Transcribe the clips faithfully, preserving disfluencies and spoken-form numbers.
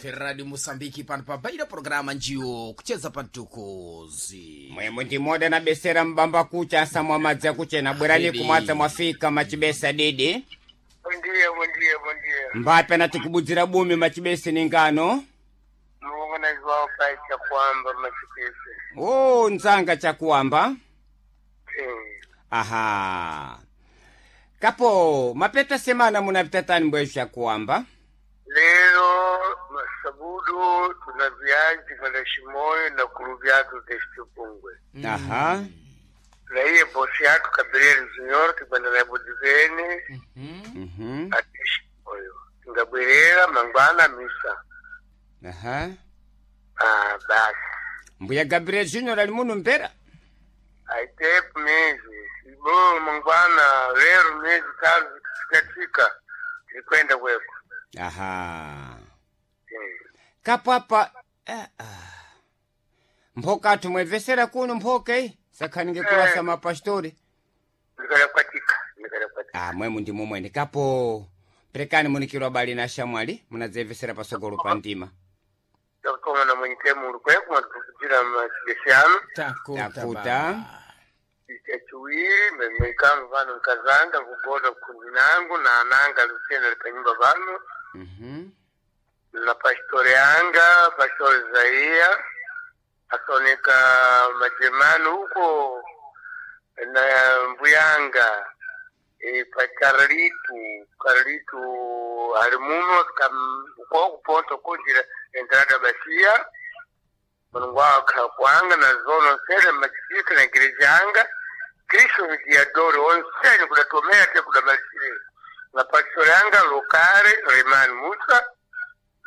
F Radio Moçambique pano pa Beira, programa njiwo kucheza pantukuzi. Mwemwe ndimoda na besera mbamba kucha asamwa madzi akuchena bwerani Didi. Kumwadza mwafika machibesa didi. Bom dia, bom dia, bom dia. Mbape anatikubudzira bumi machibesi ni ngano. Mulungu naziwa pai chakwamba machipese. O nzanga chakuwamba. Eh, Aha, kapo mapeta semana munapita tani mbweyo chakuwamba. Lero masabudu tuna viazi kwenda Shimoyo na kuruvyatu testipungwe. Aha. Na iye bosi yatu Gabriel Junior tikwenda naye budivene Mhm. ati Shimoyo. Tingabwerera mangwana misa. Aha. Ah, basi. Mbuya Gabriel Junior ali muno mpera. Aitepu miezi. Ibo mangwana lero miezi tatu zikatika. Tikwenda kweko. Aha. Eh. Kapo apa eh, ah. Mphoka athu mwevesera kuno mphoka iyi sakhaninge kulasa mapastori. Ndikalapatika, ndikalapatika. Ah, mwemu ndi momwene kapo perekani munikirwa bali na shamwali munadzevesera pasogolo pa ndima. Ndakutoma na mwenyike mulu kweko mwatikukudzira machibesi anu. Takuta. Takuta. Baba. Chachiwiri memwikanga vano nkazanga nkugoda kundi nangu na ananga lusena lipanyumba vano Mhm. na pastori anga pastori Zaia asoneka majerumani huko na mbuyanga e, pa Carlitu Carlitu ali muno kwa kuponto kunjira entrada basia mulungu wakhala kwanga na zono nsene machipisa na igreja anga Kristo vidiadori onsene kudatomera te kudamalisire na pastori anga lokare Remani Musa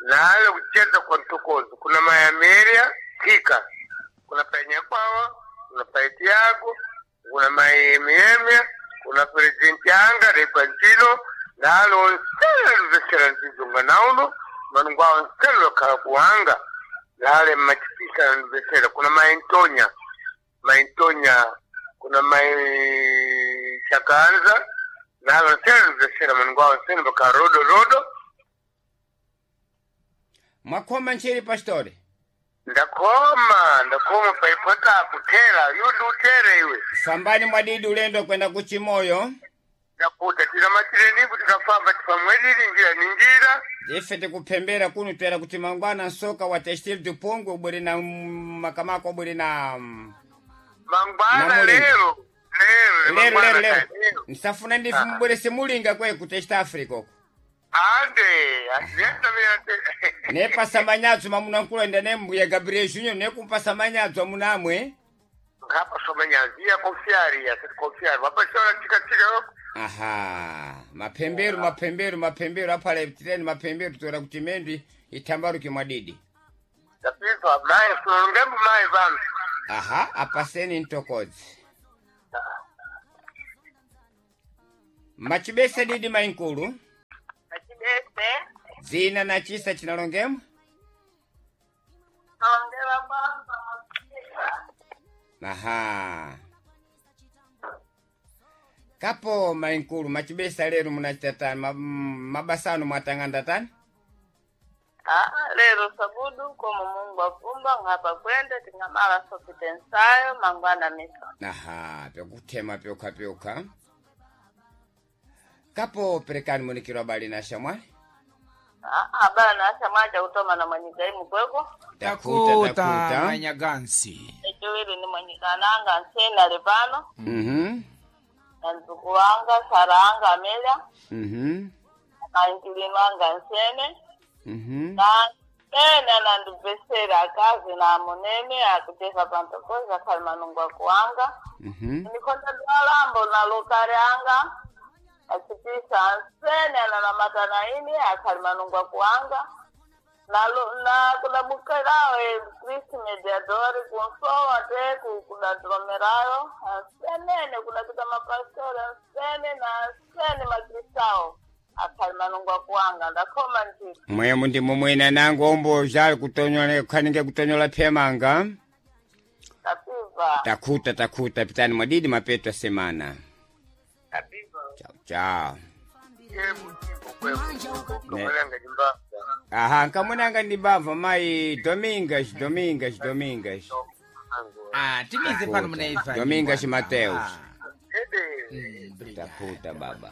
nale kucheza kwa mtokozo kuna mayameria tika kuna panyakwawa kuna paitiago kuna maemiemia kuna presidenti anga repantino nalo onsele luvesera nzizunga nauno manungwa onsele lwakhala kuwanga nale machipisa luvesera kuna maintonya maintonya kuna mai chakanza nalo onsele luvesera manungwa onsele baka rodo rodo. Mwakhoma ntcheri pastori. Ndakoma ndakoma paipota kutera yundi utere iwe. Fambani mwadidi ulendo kwenda kuchimoyo. Ndakuta tinamatire tikafamba tifamwelili njira ni njira. Ife tikuphembera kuno twera kuti mangwana nsoka wa textil dupongwe ubwere na mm, makamako ubwere na mm, Mangwana. Namulinga. Lero lero. Lero Mangwana lero lero. lero. Nsafuna ndife mubwerese mulinga kwe ku Test Africa uko. Ande asiyetamira. Nepasa manyadzo mamunankulenda ne mbuya Gabriel Junior nekumpasa manyadzo amunamwe. Ngapa somanyaziya konfiari ya konfiari wapashora tika tika. Aha, mapemberu mapemberu mapemberu aphala tireni mapemberu toera kuti mendwi itambaruke mwadidi. Tapizwa mai sunongembu mai vanu. Aha, apaseni ntokodzi machibese didi mainkulu. Achibese. Dzina na chisa chinalongemo. Nalongela baba mapisa. Aha, kapo mainkulu machibesa lero munachita tani ma- mabasano mwatang'anda tani? Ah, lero sabudu komo Mungu afumba ngapa kwenda tingamala sopite nsayo mangwana misa. Aha, pyokuthema pyokha pyokha kapo perekani munikirwa bali na shamwali. Ah, ah, bana asha mwaja kutoma na mwanyika imu kweko. Takuta. Takuta manyagansi. Echiwiri ni mwanyika nanga nsena lepano Mhm. na nzuku wanga saranga Amelia Mhm. na nkilinu anga nsene Mhm. na nsene nandibesera akazi na munene akucheza pantokoza khali manungu akuwanga. Mhm. Nikonda dwalambo na lokale anga achipisa ansene analamata na ini akhali manungu akuwanga nalo na kudabukirawe Kristi mediadori kunsowa te kudadromerayo ansenene kudakita mapastori ansene na ansene makristao akhali manungu akuwanga ndakhoma ntito. Mwemu ndi mumwena nangu ombo zali kutonyola khaninge kutonyola phemanga. Tapiva. Takuta takuta pitani mwadidi mapeto ya semana. Tapiva. Chao chao. Yebo kweko tomelanga jimbaba. Aha, nkamunanga ndi bava mai Domingas, Domingas, Domingas. Ah, timize pano munaiva. Domingas Mateus. Ah, Ede. mm, obrigado. Taputa baba.